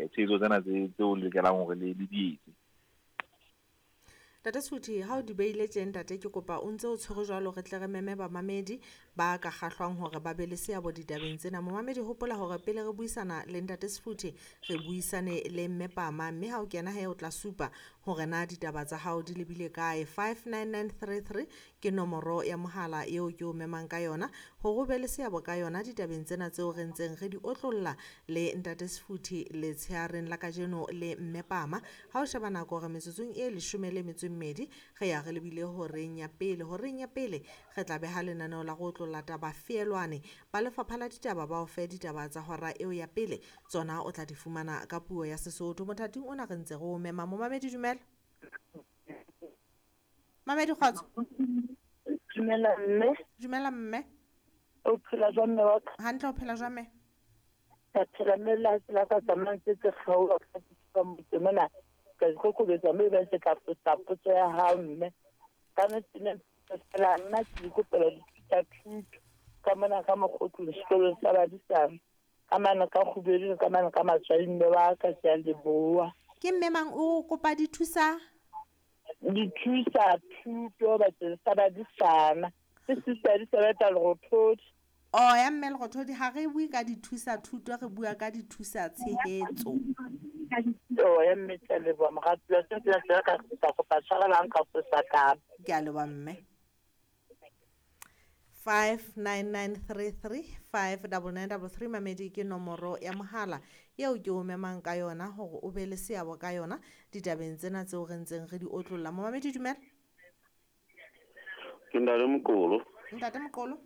Tshehetso tsena tseo le lokelang hore le di etse. Ntate Sefuthi, ha o di beile tje ntate, ke kopa o ntse o tshwere jwalo, re tle re meme bamamedi ba ka kgahlwang hore ba be le seabo ditabeng tsena. Momamedi, hopola hore pele re buisana le Ntate Sefuthi, re buisane le Mme Pama, mme ha o kena he o tla supa hore na ditaba tsa hao di lebile kae. 59933 ke nomoro ya mohala eo ke o memang ka yona hore o be le seabo ka yona ditabeng tsena tseo re ntseng re di otlolla le Ntate Sefuthi letsheareng la kajeno le Mme Pama. Ha o sheba nako hore metsotsong e 12 re ya re lebile horeng ya pele. Horeng ya pele re tla beha lenaneo la go otlolla taba feelwane. Ba lefapha la ditaba ba o fe ditaba tsa hora eo ya pele, tsona o tla di fumana ka puo ya Sesotho. Mothating ona re ntse re o mema. Momamedi, dumela. Mamedi, kgotso. Dumela mme. Dumela mme. O phela jwang mme wa ka? Hantle, o phela jwang mme? Ka phela mme, la tsela ka tsamayang tse tse kgaoha ka motse mona. Ka ikokobetsa mme ba se ka fosa potso ya hao mme. Ka nnete ne fela nna ke ikopela dithuta thuto ka mona ka mokgotlo sekolong sa badisana. Ka mane ka kgubedu, ka mane ka matswai mme wa ka, ke a leboha. Ke mme mang o kopa dithusa? Dithusa thuto bakeng sa badisana. Ke Sister Elizabeth Lerothodi. Oh, ya mme Lerothodi, ha re bue ka dithusa thuto, re bua ka dithusa tshehetso. Oh, ya mme, ke a leboha moratuwa. Se se se ka ka kopa tshwarelo ha nka fosa taba. Ke a leboha mme. 59933 59933 mamedi ke nomoro ya mohala eo ke o memang ka yona hore o be le seabo ka yona ditabeng tsena tseo re ntseng re di otlolla. Momamedi, dumela. Ke Ntate Moqolo. Ntate Moqolo.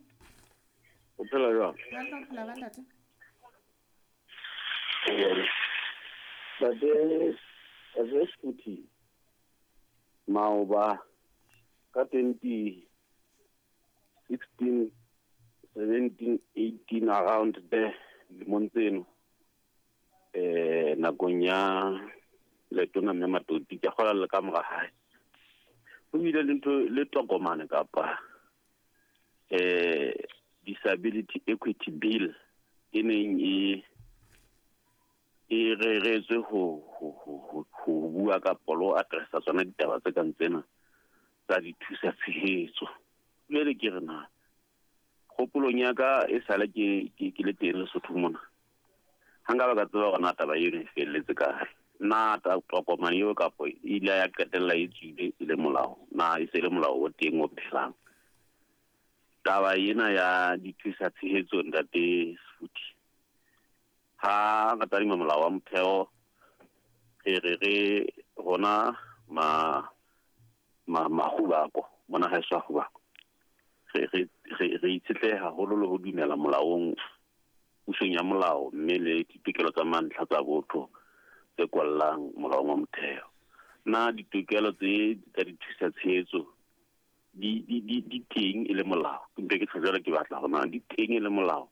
O phela jwang? Hantle, o phela jwang ntate? Ntate Sefuthi, maoba ka 2016, 17, 18 around there, lemong tseno, nakong ya letona mme Matoti, ke kgola le ka mora hae, ho bile le ntho le tokomane kapa Disability Equity Bill e neng e reretswe ho bua ka lo addressa tsona ditaba tse kang tsena tsa dithusa tshehetso. Jwale ke re na kgopolong ya ka e sale ke le teng Lesotho mona, ha nka ba ka tseba hore na taba eno e felletse kae, na tokomane eo kapo e ile ya qetella e tswile e le molao, na e se le molao o teng o phelang. Taba ena ya dithusa tshehetso Ntate Sefuthi, ha re tadima molao wa motheo, re re rona ma mona haeso a Kgubako, re itshetleha haholo le ho dumela molaong, pusong ya molao, mme le ditokelo tsa mantlha tsa botho tse kwallang molaong wa motheo. Na ditokelo tse tsa dithusa tshehetso di teng e le molao? Ke mpe ke tjho jwalo, ke batla hore na di teng e le molao,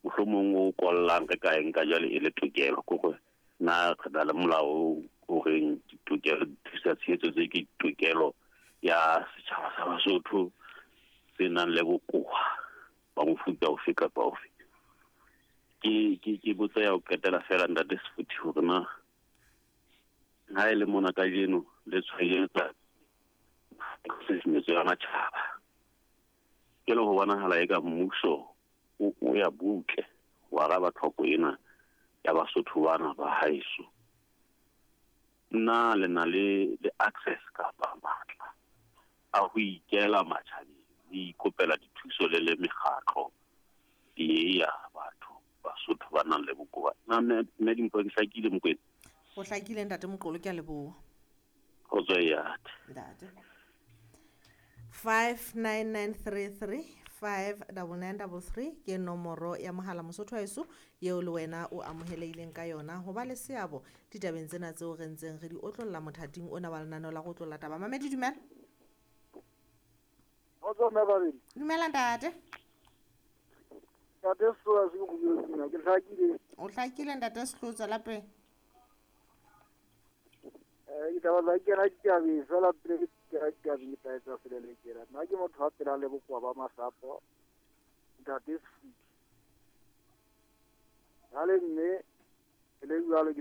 mohlomong o kwallang re ka eng ka jwale e le tokelo, ke hore na re na le molao o reng ditokelo dithusa tshehetso tse ke tokelo ya setjhaba sa Basotho se nang le bokowa ba mofuta ofe kapa ofe. Ke botsa ya ho qetela fela Ntate Sefuthi hore na ha e le mona kajeno le tshwaetsa tshusumetso ya matjhaba, ke le ho bonahala eka mmuso o ya butle ho araba tlhoko ena ya Basotho bana ba haeso. Na le na le access kapa matla a ho ikela matjhabeng, le ikopela dithuso le le mekgatlo e ya batho Basotho ba nang le bokowa? Na mme Dimpho, ke hlakile Mokwena? Ho hlakile Ntate Moqolo, ke a leboha. Kgotso ya ntate. 59933 59933 ke nomoro ya mohala Mosotho haeso eo le wena o amohelehileng ka yona ho ba le seabo ditabeng tsena tseo re ntseng re di otlolla mothating ona wa lenaneo la go otlolla taba. Mamedi, dumela. Kgotso mme babedi. Dumela ntate. Ntate Sehlotsa se ke go ke hlakile. O hlakile Ntate Sehlotsa lapeng? Ditaba tsa kena ditabeng fela pele ke kena ditabeng ke tla etsa selelekela. Nna ke motho wa phelang le bokowa ba masapo, Ntate Sefuthi. Jwale mme e le jwalo ke